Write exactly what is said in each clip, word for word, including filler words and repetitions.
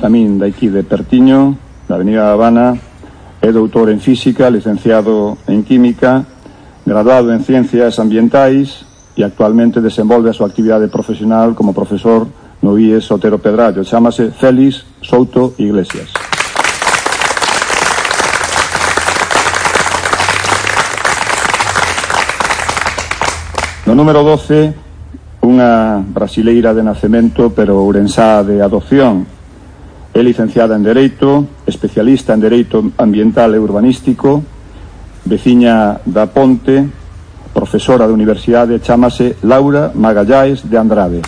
tamén daqui de pertiño, da Avenida Habana. É doutor en Física, licenciado en Química, graduado en Ciencias Ambientais e actualmente desenvolve a súa actividade profesional como profesor no I E S Otero Pedrallo. Chámase Félix Souto Iglesias. No número doce, unha brasileira de nacemento pero ourensá de adopción. É licenciada en Dereito, especialista en Dereito Ambiental e Urbanístico, veciña da Ponte, profesora de universidade, chámase Laura Magalláes de Andrade.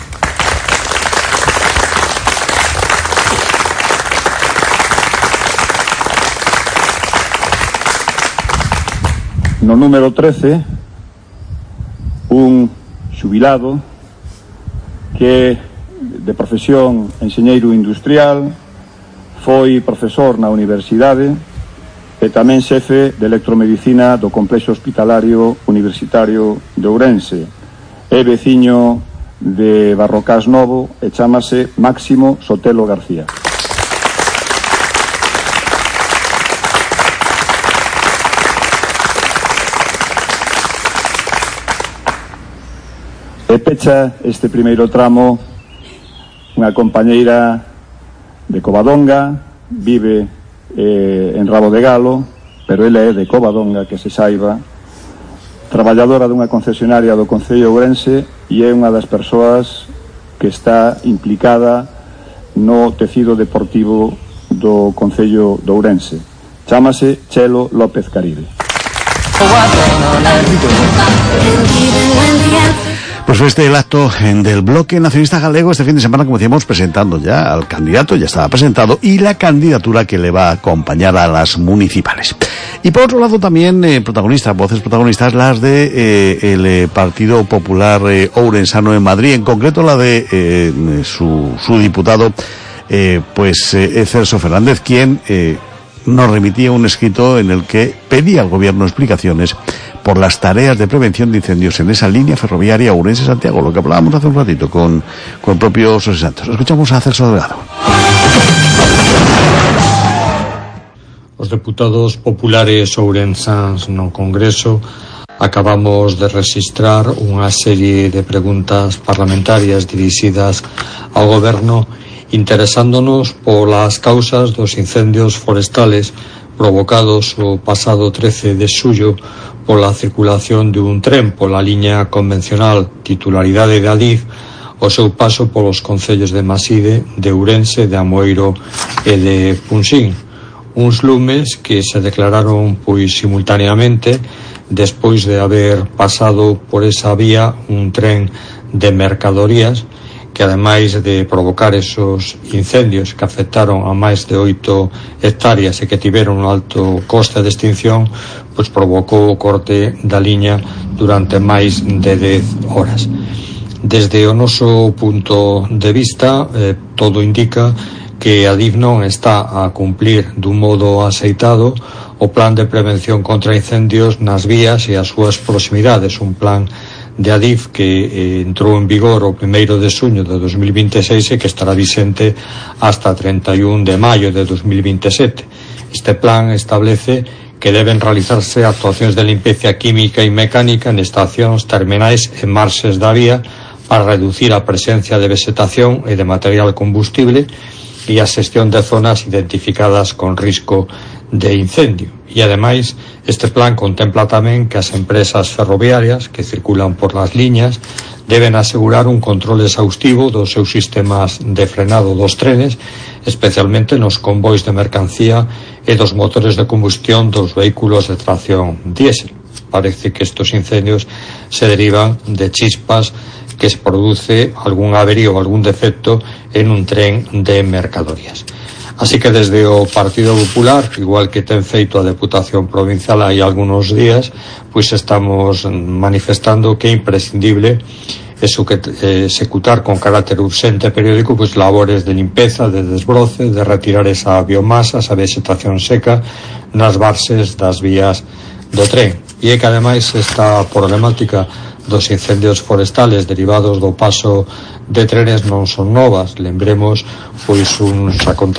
No número trece, un xubilado que de profesión enxeñeiro industrial, foi profesor na universidade e tamén xefe de electromedicina do Complexo Hospitalario Universitario de Ourense. É veciño de Barrocás Novo e chámase Máximo Sotelo García. E pecha este primeiro tramo unha compañeira de Covadonga, vive eh, en Rabo de Galo, pero ela é de Covadonga, que se saiba, traballadora dunha concesionaria do Concello de Ourense e é unha das persoas que está implicada no tecido deportivo do Concello de Ourense. Chámase Chelo López Caribe. Pues fue este el acto del Bloque Nacionalista Galego este fin de semana, como decíamos, presentando ya al candidato, ya estaba presentado, y la candidatura que le va a acompañar a las municipales. Y por otro lado también eh, protagonistas, voces protagonistas, las de eh, el eh, Partido Popular eh, Ourensano en Madrid, en concreto la de eh, su, su diputado, eh, pues eh, Celso Fernández, quien eh, nos remitía un escrito en el que pedía al gobierno explicaciones por las tareas de prevención de incendios en esa línea ferroviaria Ourense-Santiago, lo que hablábamos hace un ratito con, con el propio José Santos. Escuchamos a Celso Delgado. Os deputados populares ourensáns no Congreso acabamos de registrar unha serie de preguntas parlamentarias dirixidas ao Goberno interesándonos polas causas dos incendios forestales provocados o pasado trece de xullo pola circulación de un tren pola liña convencional titularidade de Adif o seu paso polos concellos de Maside, de Ourense, de Amoeiro e de Punsín. Uns lumes que se declararon pois simultaneamente despois de haber pasado por esa vía un tren de mercadorías que ademais de provocar esos incendios que afectaron a máis de oito hectáreas e que tiveron un alto coste de extinción, pois provocou o corte da liña durante máis de dez horas. Desde o noso punto de vista, eh, todo indica que a Adif non está a cumplir dun modo aceitado o plan de prevención contra incendios nas vías e as súas proximidades, un plan de Adif que eh, entrou en vigor o primeiro de xuño de dos mil vinte e seis e que estará vixente hasta trinta e un de maio de dos mil vinte e sete. Este plan establece que deben realizarse actuacións de limpeza química e mecánica en estacións terminais e marxes da vía para reducir a presencia de vegetación e de material combustible e a xestión de zonas identificadas con risco de incendio. E ademais, este plan contempla tamén que as empresas ferroviarias que circulan por las liñas deben asegurar un control exhaustivo dos seus sistemas de frenado dos trenes, especialmente nos convois de mercancía e dos motores de combustión dos vehículos de tracción diésel. Parece que estos incendios se derivan de chispas que se produce algún averío ou algún defecto en un tren de mercadorías. Así que desde o Partido Popular, igual que ten feito a Deputación Provincial hai algunos días, pois estamos manifestando que é imprescindible eso que eh, executar con carácter urxente e periódico pois labores de limpeza, de desbroce, de retirar esa biomasa, esa vegetación seca nas bases das vías do tren. E é que ademais esta problemática dos incendios forestales derivados do paso de trenes non son novas. Lembremos pois uns acontecementos